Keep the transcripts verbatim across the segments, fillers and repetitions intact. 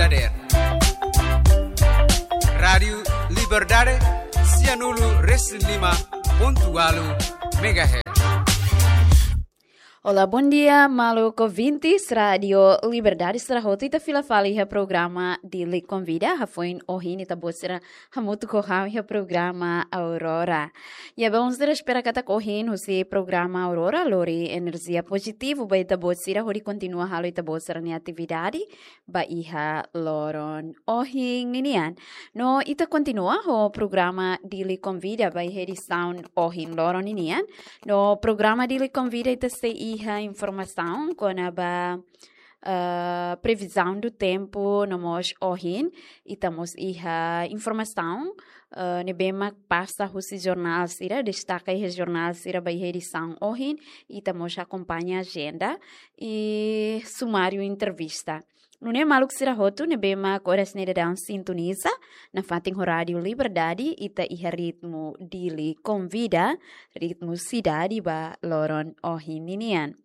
Dadeer. Rádiu Liberdade, sianulu resin lima pontu ualu megahertz. Olá, bom dia, maluk ouvintes Rádiu Liberdade sira hotu. Ita fila fali iha programa Dili Konvida, hafoin ohin ita-boot sira hamutuk ho ha'u iha programa Aurora. Ya, belun sira, espera katak ohin husi programa Aurora lori enerjia pozitivu ba ita-boot sira hodi kontinua halo ita-boot sira-nia atividade ba iha loron ohin ninian. No ita kontinua ho programa Dili Konvida ba iha edisaun ohin loron ninian. No programa Dili Konvida ita sei iha informasaun kona-ba, eh, previsão do tempo, no mós ohin ita mós iha informasaun, eh, ne'ebé mak pasa husi jornál sira, destaka iha jornál sira ba iha edisaun ohin, ita mós akompaña ajenda i sumáriu entrevista. Nune'e maluk sira hotu ne'ebé mak oras ne'e daudaun sintoniza nafatin ho Rádiu Liberdade, ita iha ritmu Dili Konvida, ritmu sidade ba loron ohin ninian.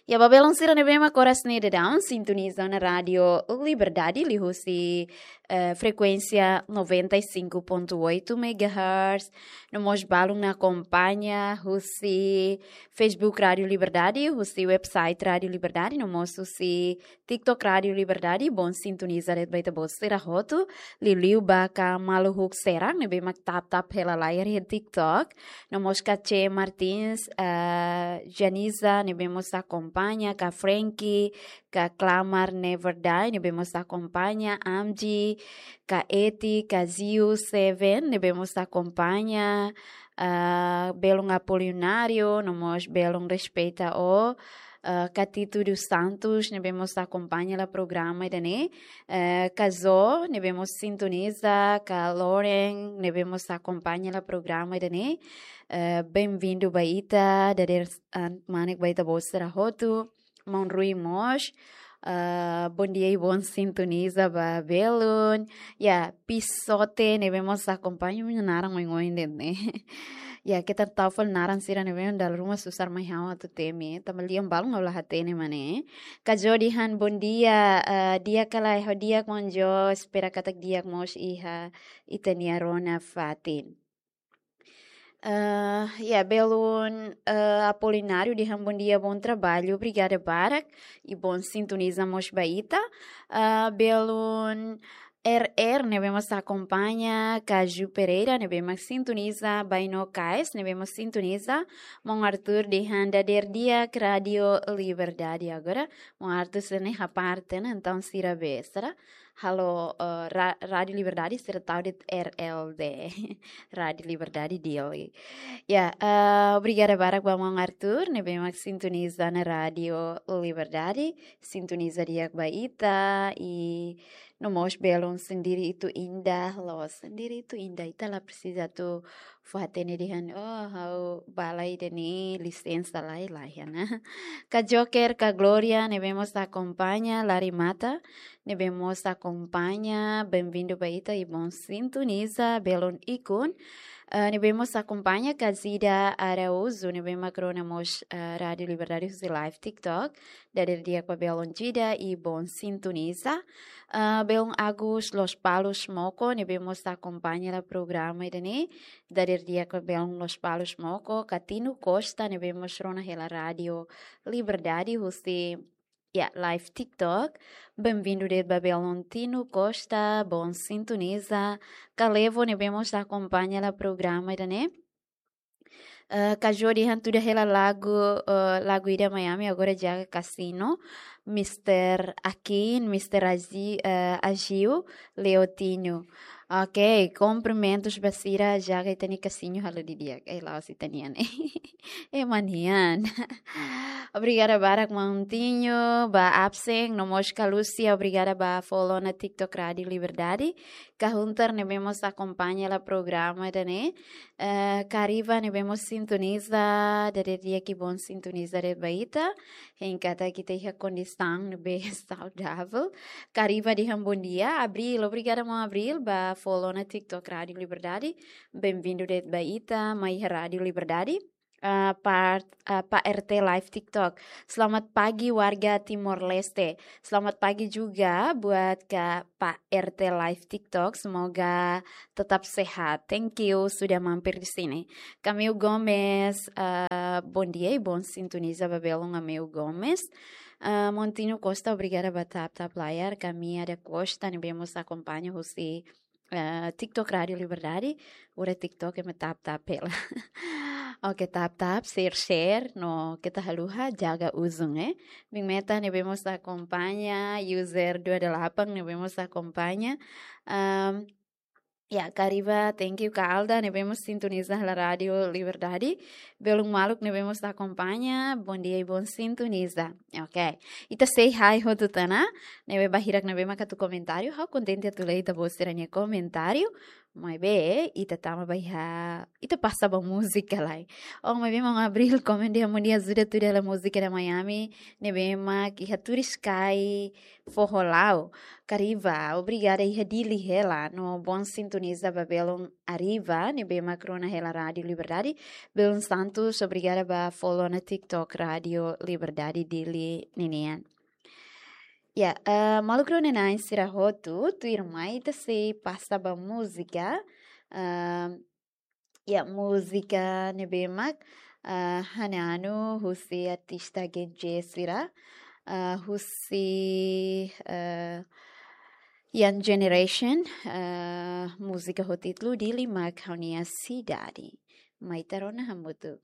Ya, ba belun sira ne'ebé mak oras ne'e daudaun sintoniza ona Rádiu Liberdade liuhusi, eh, frekuénsia noventa e cinco ponto oito megahertz. No mós balun ne'ebé akompaña husi Facebook Rádiu Liberdade, husi website Rádiu Liberdade, no mós husi TikTok Rádiu Liberdade, bom sintoniza de'it ba ita-boot sira hotu. Liuliu ba ka maluk sira ne'ebé mak tap-tap hela layar iha TikTok. No mós ka Che Martins, eh, Janiza, ne'ebé mós akompaña, ka Frankie, ka Clamar Never Die, ne'ebé mós akompaña, Amji, ka Eti, ka Ziu Seven, ne'ebé mós akompaña, ah, belun Apolinário, no mós belun Respeita Ó, ah, ka Tito dos Santos, ne'ebé mós akompaña hela programa ida-ne'e, eh, ka Zo, ne'ebé mós sintoniza, ka Loren, ne'ebé mós akompaña hela programa ida-ne'e, eh, bem-vindo ba ita, dadeer, ah, manek ba ita-boot sira hotu. Maun Rui mós, ah, bom dia i bom sintoniza ba belun. Ya, Pisote ne'ebé mós akompaña, nia naran oin-oin de'it ne'e. Ya, keta tau fali naran sira ne'ebé dala ruma susar mai ha'u atu temi, tanba lian balun ha'u la hatene mak ne'e. Ka Jodi han bom dia, ah, di'ak ka lae, ha'u di'ak maun Jo, espera katak di'ak mós iha ita-nia rona fatin. Eh, ya, belun, eh, Apolinário dehan bom dia, bom trabalho, obrigada barak, i bom sintoniza mós ba ita. Eh, belun R R ne'ebé mós akompaña, Caju Pereira ne'ebé mak sintoniza, Baino Kais ne'ebé mós sintoniza, maun Arthur dehan dadeer di'ak Rádiu Liberdade. Agora maun Arthur sira ne'e haparte ona, entaun sira be sira halo, eh, ra-, Rádiu Liberdade sira tau de'it R L D. Rádiu Liberdade Dili. Ya, eh, obrigada barak ba maun Arthur ne'ebé mak sintoniza ona Rádiu Liberdade, sintoniza di'ak ba ita, i no mós belun Sendiri Itu Indah, loos, Sendiri Itu Indah, ita la presiza atu fó hatene dehan, oh, ha'u bala ida-ne'e lisensa lai-lai, ya, ne'e. Ka Joker, ka Gloria ne'ebé mós akompaña, Lari Mata ne'ebé mós akompaña, bem-vindo ba ita i bom sintoniza, belun Ikun, eh, ne'ebé mós akompaña, ka Zida Araújo ne'ebé mak rona mós, eh, Rádiu Liberdade husi live TikTok, dadeer di'ak ba belun Zida i bom sintoniza. Eh, belun Agus Lospalos Moko ne'ebé mós akompaña hela programa ida-ne'e, dadeer di'ak ba belun Lospalos Moko, ka Tino Costa ne'ebé mós rona hela Rádiu Liberdade husi, ya, live TikTok. Bem-vindo de'it ba belun Tino Costa, bom sintoniza. Ka Levo ne'ebé mós akompaña hela programa ida-ne'e. Eh, ka Jodi han tuda hela lagu, eh, lagu ida Miami, agora jaga Casino, Mister Akin, Mister Azi-, eh, Agiu, Leotinho. Ok, kumprimentus ba sira, jaga ita-nia Casino halo didi'ak. Eh, la'ós ita-nian. Eh, ema nian. Obrigada barak maun Tinho, ba absen, no mós ka Lúcia, obrigada ba follow ona TikTok Rádiu Liberdade. Ka Hunter ne'ebé mós akompaña hela programa ida-ne'e. Eh, ka Riva ne'ebé mós sintoniza, dadeer di'ak i bom sintoniza de'it ba ita. Hein katak ita iha kondisaun ne'ebé saudavel. Ka Riva dehan bom dia. Abril, obrigada maun Abril, ba follow ona TikTok Rádiu Liberdade. Bem-vindo de'it ba ita, mai iha Rádiu Liberdade. eh, part, eh, Pak R T Live TikTok. Selamat pagi warga Timor Leste. Selamat pagi juga buat Kak Pak R T Live TikTok. Semoga tetap sehat. Thank you sudah mampir di sini. Kameu Gomes, eh, bom dia e bom sintoniza ba belun Ameu Gomes. Eh, Montino Costa, obrigada ba tap-tap layar. Kami ada Costa, ne'ebé mós akompaña husi, eh, TikTok Rádio Liberdade. Ura TikTok ema tap-tap hela. Oke, tap-tap, share-share, no keta haluha, jaga ozon, eh. Bin Meta, ne'ebé mós akompaña, user dua delapan, ne'ebé mós akompaña. Ehm, ya, Kariba, thank you, Kak Alda, ne'ebé mós sintoniza hela Rádio Liberdade. Belun maluk ne'ebé mós akompaña, bom dia e bom sintoniza. Oke. Ita say hi hotu tiha ona, ne'ebé bahirak ne'ebé mak atu komentáriu, ha'u kontente atu lee ita-boot sira-nia komentáriu, maibé ita tama ba iha, ita pasa ba múzika lai. Oh, maibé maun Abril komen dehan mundu ajuda tuda hela múzika da Miami, ne'ebé mak iha Turiscai Foho Lao. Kariba, obrigada iha Dili hela, no bom sintoniza ba belun Ariva, ne'ebé mak rona hela Rádio Liberdade. Belun Santos, obrigada ba follow ona TikTok Rádio Liberdade Dili ninian. Ya, eh, maluk rona-na'in sira hotu, tuirmai ita sei pasa ba múzika, eh, ya, múzika ne'ebé mak, eh, hananu husi artista Gen Z sira, eh, husi, eh, Young Generation, eh, múzika ho títulu Dili mak ha'u-nia sidade. Mai ita rona hamutuk.